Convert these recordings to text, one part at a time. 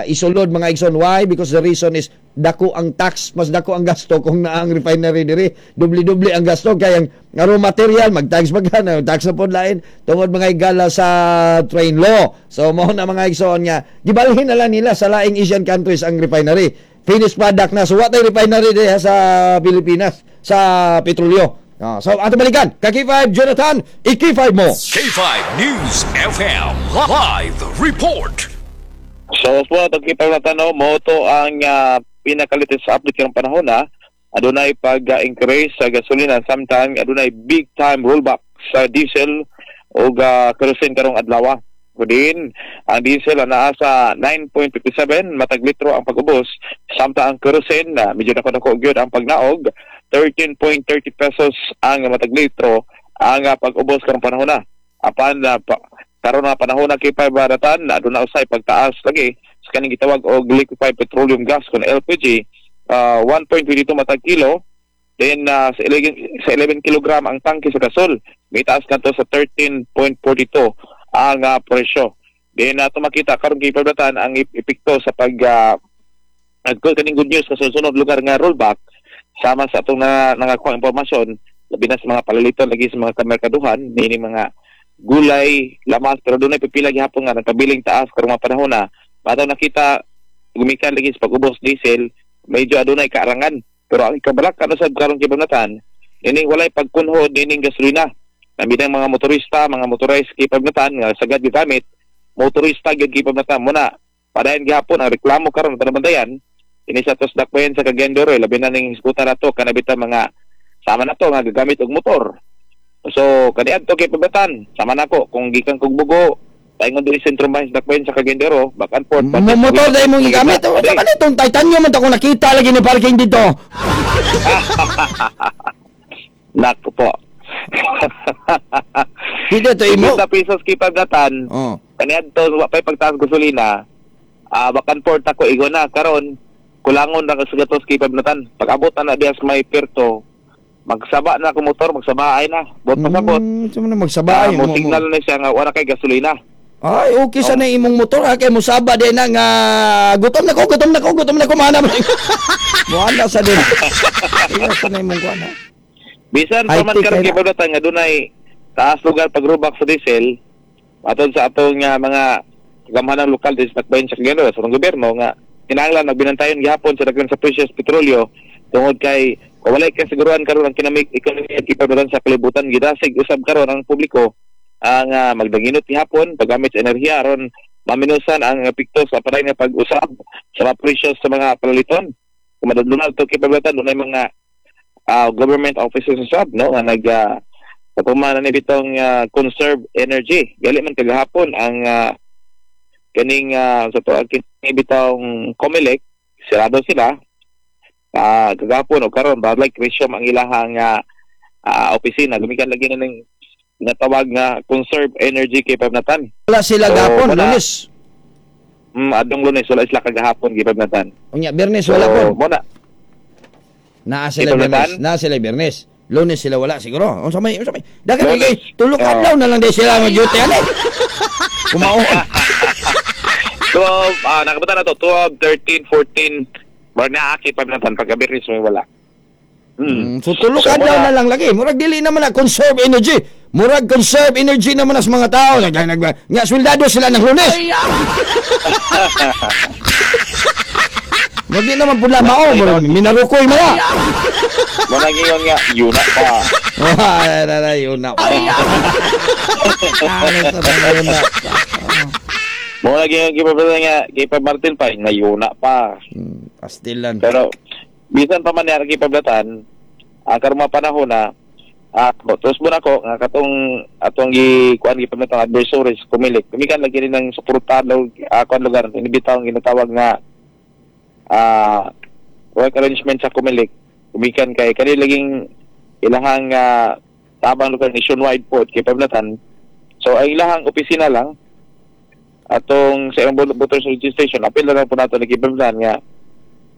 Isulod, mga igsoon. Why? Because the reason is dako ang tax, mas dako ang gasto kung naa ang refinery diri. Dubli-dubli ang gasto kay ang raw material mag-tax pa ka, tax na pod lain tungod, mga higala, sa train law. So mao na, mga igsoon, nga gibalhin na lang nila sa laing Asian countries ang refinery. Finished product na. So wa tay refinery diha sa Pilipinas sa petrolyo. Ah, so ato balikan ka K5 Jonathan, i-K5 mo. K5 News FM Live Report. So, po atong kipaglatano mo to ang pinaka-latest update karong panahon na adunay pag-increase sa gasolina samtang adunay big time rollback sa diesel o kerosene karong adlaw. Kudin, ang diesel naa sa 9.57 matag litro ang pag-ubos, samtang ang kerosene na medyo dako-dako gyud ang pagnaog, 13.30 pesos ang matag litro ang pag-ubos karong panahon na. Apan karon nga panahon na, K5 baratan, aduna usay pagtaas lagi sa kaning gitawag og liquefied petroleum gas kon LPG, 1.22 matag kilo. Then sa 11 kilogram ang tangke sa gasol, may taas kadto sa 13.42 ang presyo. Then ato makita karon, kay pablatan, ang epekto sa pag kaning good news sa sunod lugar nga rollback, sama sa atong na nangakuha impormasyon, labi na sa mga palaliton lagi sa mga kamerkaduhan niini mga gulay, lamas, pero dunay pipila gihapon nga nagkabiling taas karong mga panahon na. Bato nakita gumikan lagi sa pag-ubos diesel, medyo adunay kaarangan. Pero ang ikabalak ano sad karon, kibagnatan, ining walay pagkunhod nining gasolina. Nabinang mga motorista, mga motorized, kipagnatan, nga sagad gigamit motorista gyud, kipagnatan mo na. Padayon gihapon ang reklamo karon panabantayan ini sa tos dakbayan sa Cagayan de Oro, labi na ning hisgutan nato kanabita mga sama na to nga gagamit og motor. So kaniadto kay pabatan sama nako kung gikan kog Bogo paingon diri sentro bahin sa dakbayan sa Cagayan de Oro, back and forth. Mo motor dahil mong gigamit. O, saka nitong titanium man to kung nakita lagi ni parking dito. Nako po. Dito to imo. 50 pesos kay pagdatan. Kaniadto wa pay pagtaas gasolina. Ah, back and forth ako igo na karon kulangon ra sa gatos kay pagnatan. Pag abot na na diya sa may Perto, magsaba na ako motor, magsaba ay na. Bot pasabot. So mo na magsaba Ah, mo signal na siya nga wala kay gasolina. Ay, okay sa na imong motor ha kay musaba din na nga gutom na ko, gutom na ko, gutom na ko, mana mo. Mo sa din. Iya sa na imong kuan ha. Bisan pa man High-tech karon kay kay na. paglatan nga dunay taas lugar pagrubak sa diesel atod sa atong nga mga gamhanang lokal din sa Dakbayan sa Cagayan sa atong gobyerno nga kinahanglan magbinantayon gihapon sa daghan sa presyo sa petrolyo tungod kay kung walay kasiguruhan karon ang kinamig ekonomiya kipaglatan sa kalibutan. Gidasig usab karon ang publiko ang magdanginot gihapon paggamit sa enerhiya aron maminusan ang epekto sa padayon nga pag-usab sa mga presyo sa mga palaliton. Kung madadlunal to kay paglatan, dunay mga government officers usab no nga nag katuman na ni bitong conserve energy. Gali man kagahapon ang kaning sa to kini bitong COMELEC, sirado sila kagahapon o karon ba, like resume ang ilahang opisina, gumikan lagi na ning tinatawag nga conserve energy kay Pabnatan. Wala sila So, gapon, wala. Lunes. Adong Lunes wala sila kagahapon kay Pabnatan. Unya Biyernes wala So, po. mo na. Naa sila Ito, Biyernes. Natan? Naa sila Biyernes. Lunes sila wala siguro. Unsa may? Dagan Lunes. kay tulo ka adlaw na lang di sila mag duty ani. Kumaon. 12, nakabata na to, 12, 13, 14, bar na aki Pabnatan pagka Biyernes may wala. So tulo So, ka adlaw wala. na lang lagi. Murag dili naman na conserve energy. Murag conserve energy naman as mga tao. Nag, nag, nga sweldado sila ng Lunes. Murag di naman pula mao, murag minarukoy mga. Mo na giyon nga, yun na pa. Wah, ay, ay, ay, yun na. Ano sa mga yun na. Mo na giyon kay nga, kay pa Martin pa, nga yun na pa. Pastilan. Pero, bisan pa man niya kay Pablatan, ang karong mga panahon na, tapos mo na ko, nga katong atong gi kuan gi Pablatan adversaries Comelec. Gumikan lagi rin ng suportado kuan lugar inibitaw ang ginatawag nga work arrangement sa Comelec. Gumikan kay kani laging ilahang tabang lugar nationwide po kay Pablatan. So ang ilahang opisina lang atong sa ilang voters registration, apil na lang po nato ni Pablatan nga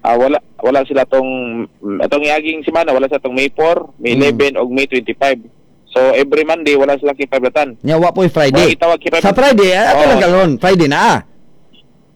wala wala sila tong atong iaging semana, wala sa tong May 4, May 11 og May 25. So every Monday wala sila kay Pablatan. Nya wa po'y Friday. Wala itawag kay Sa Friday, ato Oo. lang karon, Friday na ah.